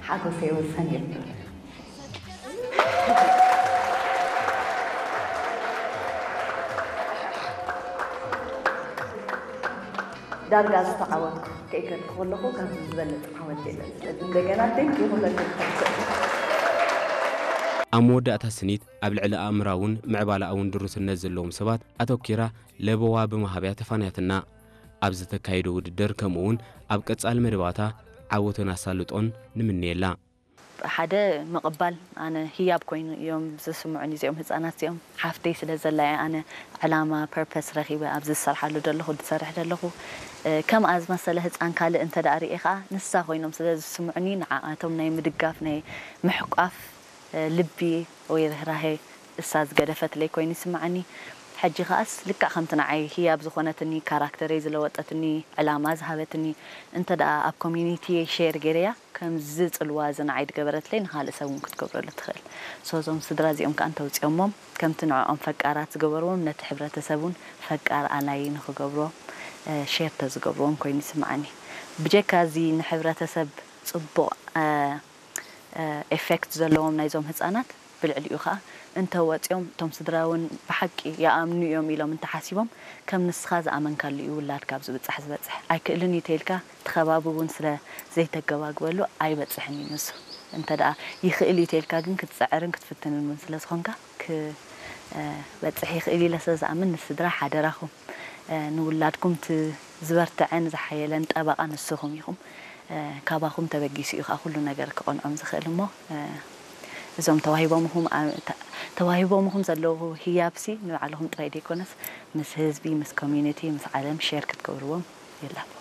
ሓጎሰይ ወሰን የብሉን። ዳርጋ ዝተዓወትኩ ከይከድኩ ከለኹ ካብዚ ዝበለፅ ዓወት የለን። ስለዚ እንደገና ቴንኪ ኩለኩም። ኣብ መወዳእታ ስኒት ኣብ ልዕሊ ኣእምራውን ምዕባለኣውን ድሩትነት ዘለዎም ሰባት ኣተኪራ ለበዋ ብምሃብያ ተፋንያትና። ኣብ ዝተካየደ ውድድር ከምኡውን ኣብ ቀጻሊ መደባታ ዓወትን ኣሳልጦን ንምንየላ። ሓደ ምቕባል ኣነ ህያብ ኮይኑ እዮም ዝስምዑኒ እዚኦም ህፃናት እዚኦም ሓፍተይ ስለ ዘላ እየ ኣነ ዕላማ ፐርፐስ ረኺበ ኣብዚ ዝሰርሓሉ ዘለኹ ዝሰርሕ ዘለኹ ከምኣ ዝመሰለ ህፃን ካልእ እንተ ደኣ ርእየ ከዓ ንሳ ኮይኖም ስለ ዝስምዑኒ ንዓኣቶም ናይ ምድጋፍ ናይ ምሕቋፍ ልቢ ወይ ርህራሄ እሳ ዝገደፈትለይ ኮይኑ ይስምዓኒ። ሕጂ ከኣስ ልክዕ ከምቲ ንዓይ ህያብ ዝኾነትኒ ካራክተረይ ዝለወጠትኒ ዕላማ ዝሃበትኒ እንተ ደኣ ኣብ ኮሚኒቲየይ ሼር ገይረያ ከምዚ ጽልዋ እዚ ንዓይ ዝገበረትለይ ንኻልእ ሰብ እውን ክትገብረሉ ትኽእል። ሶ እዞም ስድራ እዚኦም ከኣ እንተውፅኦሞም ከምቲ ንዕኦም ፈቃራት ዝገበርዎም ነቲ ሕብረተሰብ እውን ፈቃር ኣላይ ንኽገብርዎም ሼር ተዝገብርዎም ኮይኑ ይስምዓኒ። ብጀካ እዚ ንሕብረተሰብ ፅቡቕ ኤፌክት ዘለዎም ናይዞም ህፃናት ብልዕሊኡ ከዓ እንተወፂኦም እቶም ስድራ እውን ብሓቂ ይኣምኑ እዮም ኢሎም እንተሓሲቦም ከም ንስኻ ዝኣመንካሉ እዩ ውላድካ ኣብ ዝብፃሕ ዝበፅሕ ኣይክእልን እዩ ተይልካ እቲ ከባቢ እውን ስለ ዘይተገባግበሉ ኣይበፅሕን እዩ ንሱ እንተ ደኣ ይኽእል እዩ ተይልካ ግን ክትፅዕርን ክትፍትንን እውን ስለ ዝኾንካ ክበፅሕ ይኽእል ኢለ ስለ ዝኣምን ንስድራ ሓደራኹም ንውላድኩም እቲ ዝበርትዐን ዝሓየለን ጠበቓ ንስኹም ኢኹም። ካባኹም ተበጊሱ እዩ ከዓ ኩሉ ነገር ክቐንዖም ዝኽእል እሞ እዞም ተዋሂቦምኹም ተዋሂቦምኹም ዘለዉ ህያብሲ ንባዕልኹም ጥራይ ዘይኮነስ ምስ ህዝቢ ምስ ኮሚኒቲ ምስ ዓለም ሼር ክትገብርዎም ይላቦ።